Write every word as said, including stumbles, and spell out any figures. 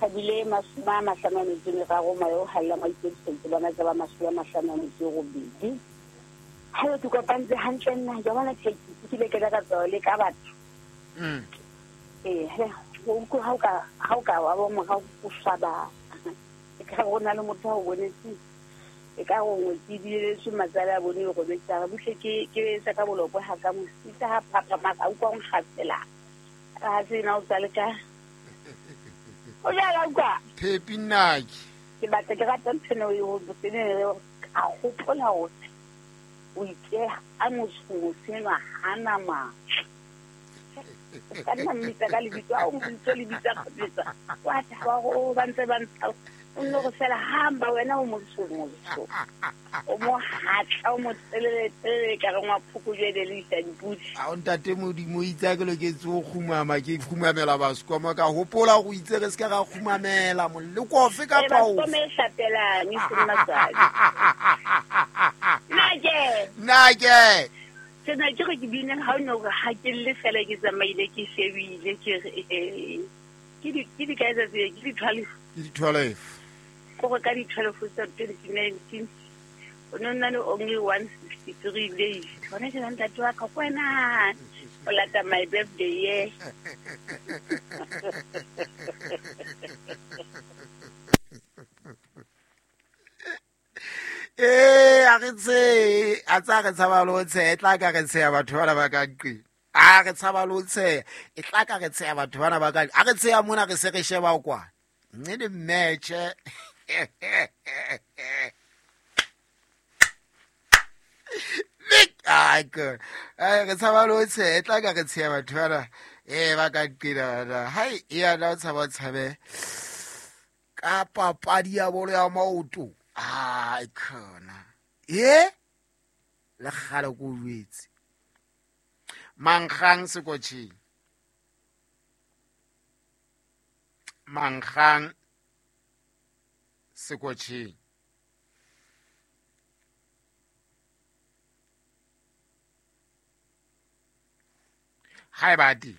Thabile mashome a mahlano a metso e meraro moya o hallang wa ikemiseditse bona tsa ba mashome a mahlano a metso e robedi. Ha ke kopantse hantle nna ke bona ke kile ke ka tswa le ka batho. Mm. Eh, o ko ha o ka ha o ka wa bo morao o swaba. E ka re na le motho a o bonetse. E ka re ngwetsi ebile se matsala a bone e robetse a re buhle ke ke etsa ka bolokwe ha ka mo sitsa ha phaphama ka utlwa o nkgafela. Ha se na o tsale ka. O jala utlwa. Phepi nnake. Ke batla ke rata ntho eno e ho tsene ka hopola hore o itse a motho motho hana matla. Ka nna mmitsa ka lebitso a o mmitso lebitso kgapetsa. Wa thaba hore ba ntse ba ntsha. O nno re fela hamba wena o motho motho. O mo hatla o mo telele telele ka re ngwa phokojwe le isa dipudi. A o ntate Modimo itse a ke loketse ho kgumama ke kgumamela basekoma ka hopola go itse re se ka ra kgumamela moleko ofe kapa ofe. Basekoma e hlapelang e seng matswadi. Nna ke. Nna ke. Ke na ke re ke bine ha o no re ha ke le fela ke tsamaile ke shebile ke re ke di ke di kae tsa ke di twelve. Ke di twelve. Ko re ka di twelve tsa twenty nineteen. O no nna le only one sixty-three days. Hona ke ntate wa ka kwena. O lata my birthday ye. Eh, a re tse, a tsa re tshaba lo tshe, e tla ka re tsheya batho bana ba ka nqeng. A re tshaba lo tshe, e tla ka re tsheya batho bana ba ka. A re tsheya mona re se re sheba kwa. Nne le match. Ai ke. Ai re tshaba lo tshe, e tla ka re tsheya batho bana eh ba ka nqeng. Hai, ya na tshaba tshabe. Ka papadi ya bolo ya maoto. Ai khona. E le kgale ko jwetse. Mankgang sekotjheng. Mankgang sekotjheng. Haeba di